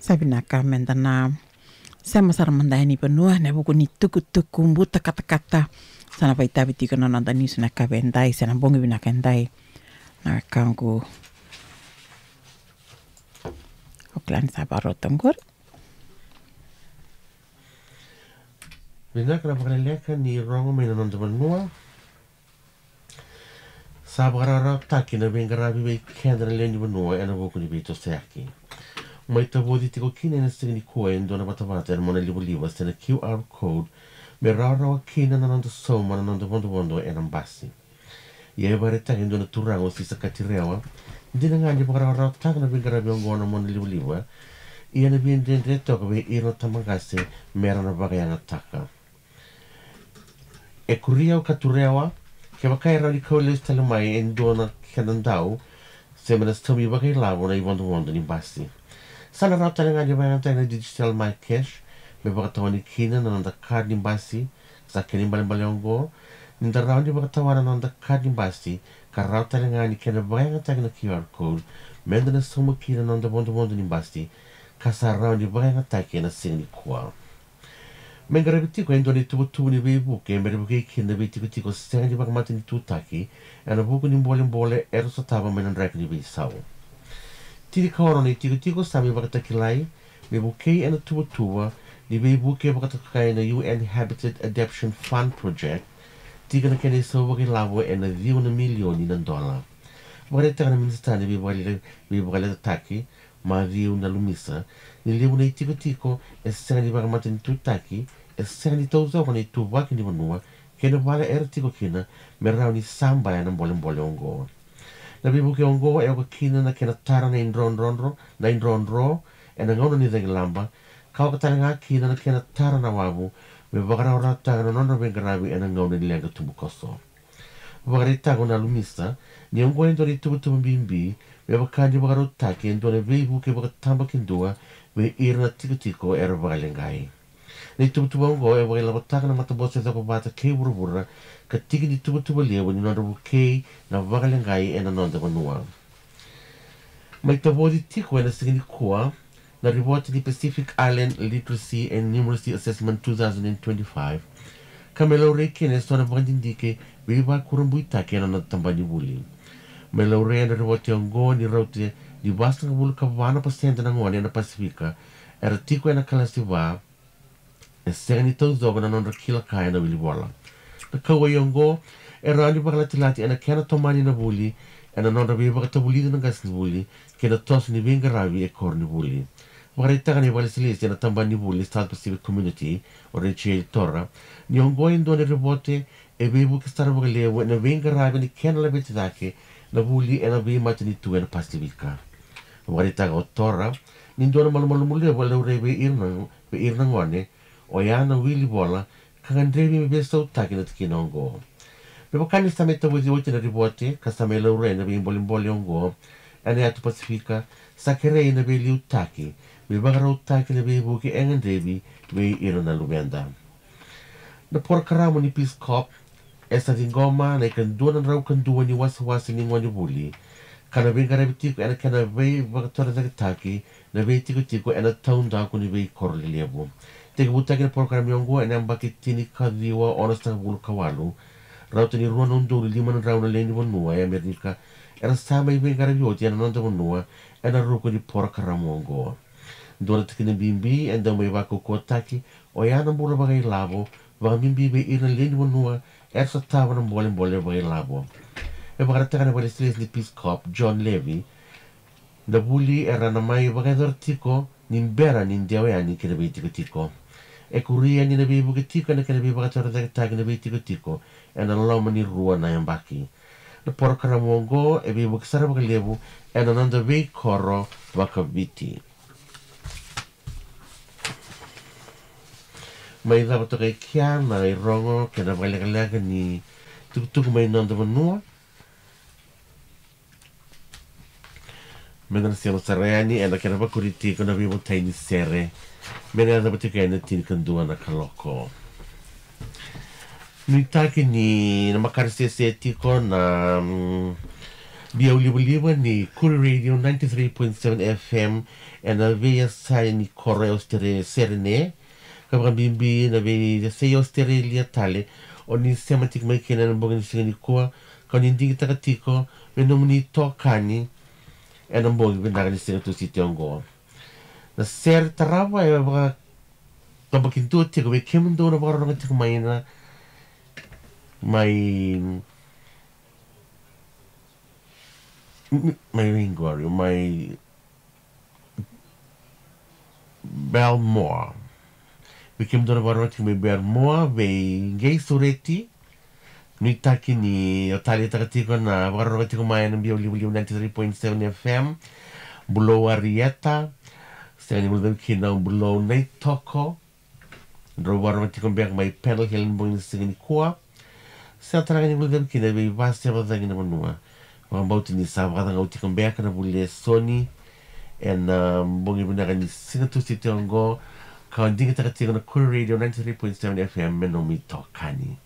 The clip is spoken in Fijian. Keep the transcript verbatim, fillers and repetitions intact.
Sa vinaka meda na sema sara mada yani vanua ena vuku ni tukutuku buta katakata. Sa na vakaitavi tiko na noda niusi na ka vei edai, se na bogi vinaka edai. Na wekaqu. O kila ni sa vakarota oqori. Vinaka na vakaleleka ni rogo mai na noda vanua. Sa vakarawarawataki na veiqaravi vei keda na lewe ni vanua ena vuku ni veitosoyaki. Mai tavoci tiko kina ena siga nikua e dua na vatavata ena monalivaliva se na Q R code me rawarawa kina na noda sauma na noda vodovodo ena basi. Ia e vakaraitaka e dua na turaga o Sisa Katirewa, dina ga ni vakarawarawataka na veiqaravi oqo na monalivaliva, ia na veidredre toka vei ira na tabaqase me ra na vakayagataka. E kuria o Katirewa, kevaka e rawa ni kau lesu tale mai e dua na kena dau, se me na saumi vakailavo na ivodovodo ni basi. Sa na rawa tale ga ni vakayagataki na digital MyCash me vakatawani kina na noda card ni basi. Sa kena ibalebale oqo, ni da rawa ni vakatawana na noda card ni basi, ka rawa tale ga ni kena vakayagataki na Q R code, meda na sauma kina na noda vodovodo ni basi, ka sa rawa ni vakayagataki ena siga nikua. Me qaravi tiko e dua na ituvatuva ni veivuke me ra vukei kina na veitikotiko sega ni vakamatanitutaki ena vuku ni bolebole era sotava mai na draki ni veisau. Tinikaono na itikotiko sa mai vakatakilai me vukei ena tuvatuva ni veivuke vakatokai na U N Habitat Adaptation Fund Project, tiko na kena isau vakailavo ena ciwa na milioni na dola. Vakaraitaka na minisita ni veivakale-, veivakaletataki, Maciu Nalumisa, ni levu na itikotiko e sega ni vakamatanitutaki, e sega ni taucoko na ituvaki ni vanua kei na vale era tiko kina me rawa ni sabaya na bolebole oqo. Na veivuke oqo e oka kina na kena tara na idrodrodro, na idrodro ena gauna ni cagilaba, ka oka tale ga kina na kena tara na wavu me vakarawarawataka na nodra veiqaravi ena gauna ni leqa tubukoso. Vakaraitaka o Nalumisa ni oqo e dua na ituvatuva bibi me vaka ni vakarautaki e dua na veivuke vakatabakidua vei ira na tikotiko era vakaleqai. Na ituvatuva oqo e vakailavotaka na Matabose Cokovata kei Vuravura ka tiki ni tuvatuva levu ni nodra vukei na vakaleqai ena noda vanua. Mai tavoci tiko ena siga nikua na ripote ni Pacific Island Literacy and Numeracy Assessment two thousand and twenty-five, ka me laurai kina eso na vakadidike veivakurabuitaki ena noda tabana ni vuli. Me laurai ena ripote oqo ni rauta ni vasagavulu ka va na pasede na gone ena Pasifika era tiko ena kalasi va e sega ni taucoko na nodra kila ka ena wilivola. Na kauwai oqo e rawa ni vakalatilati ena kena tomani na vuli, ena nodra veivakatavulici na qasenivuli kei na toso ni veiqaravi e koronivuli. Vakaraitaka na ivakalesilesi ena tabana ni vuli ni South Pacific Community, o Rachel Tora, ni oqo e dua na ripote e veivuke sara vakalevu ena veiqaravi ni kena laveti cake na vuli ena veimatanitu ena Pasifika. Vakaraitaka o Tora ni dua na malumalumu levu e laurai vei ira na, vei ira na gone oya na wilivola ka gadrevi me veisautaki na tikina oqo. Me vaka ni sa mai tavoci oti na ripote ka sa mai laurai na veibolebole oqo ena yatu Pasifika, sa kerei na veiliutaki me vakarautaki na veivuke e gadrevi vei ira na luveda. Na porokaramu ni Peace Corps e sa ciqoma na ikadua na drau ka dua ni wasewase ni gonevuli, ka na veiqaravi tiko ena kena veivakatorocaketaki na veitikotiko ena taudaku ni veikoro lelevu. Tekivutaki na porokaramu oqo ena yabaki tinikaciwa onosagavulu ka walu. Rauta ni rua na udolu lima na drau na lewe ni vanua e Amerika era sa mai veiqaravi oti ena noda vanua ena ruku ni porokaramu oqo. Dua na tikina bibi e dau mai vakaukauwataki oya na bula vakailavo, vakabibi vei ira na lewe ni vanua era sotava na bolebole vakailavo. E vakaraitaka na vakalesilesi ni Peace Corps, John Levy, na vuli era na mai vakayacora tiko ni bera ni dewa yani ki na veitikotiko. E kuria ni na veivuke tiko ena kena veivakatorocaketaki na veitikotiko ena loma ni rua na yabaki. Na porokaramu oqo e veivuke sara vakalevu ena noda veikoro vakaviti. Mai cava toka e kea na irogo kei na vakalekaleka ni tukutuku mai noda vanua. Meda na sema sara yani ena kena vakuri tiko na veivotai ni sere. Me na yacova tiko yani na tinikadua na kaloko. Nuitaki ni na makare sese tiko na, mm, Biau livaliva ni Kuri Radio ninety-three point seven F M ena veiyasai ni koro e Australia, Sydney. Ka vakabibi na veiyasai Australia tale o ni sema tiko mai kina ena bogi ni siga nikua, ka o ni digitaka tiko me nomuni itokani ena bogi vinaka ni siga Tusiti oqo. Na sere tarava e vaka, ka vakadua tiko vei kemudou na vakarorogo tiko mai na, mai, mai vei qori, mai Belmore. Vei kemudou na vakarorogo tiko mai Belmore, vei qei sureti, nuitaki ni o taleitaka tiko na vakarorogo tiko mai ena Biau livaliva ninety-three point seven F M. Bulou Arieta, sega ni guilecavi kina o Bulou Naitoko. Drau vakarorogo tiko beka mai Pendle Hill ena bogi ni siga nikua. Sega tale ga ni guilecavi kina vei Vaseva Cagi na vanua. Vakabauta ni sa vakacagau tiko beka na vuli e Soni ena, ah, bogi vinaka ni siga Tusiti oqo, ka o digitaka tiko na Kuri Radio ninety-three point seven F M me nomu itokani.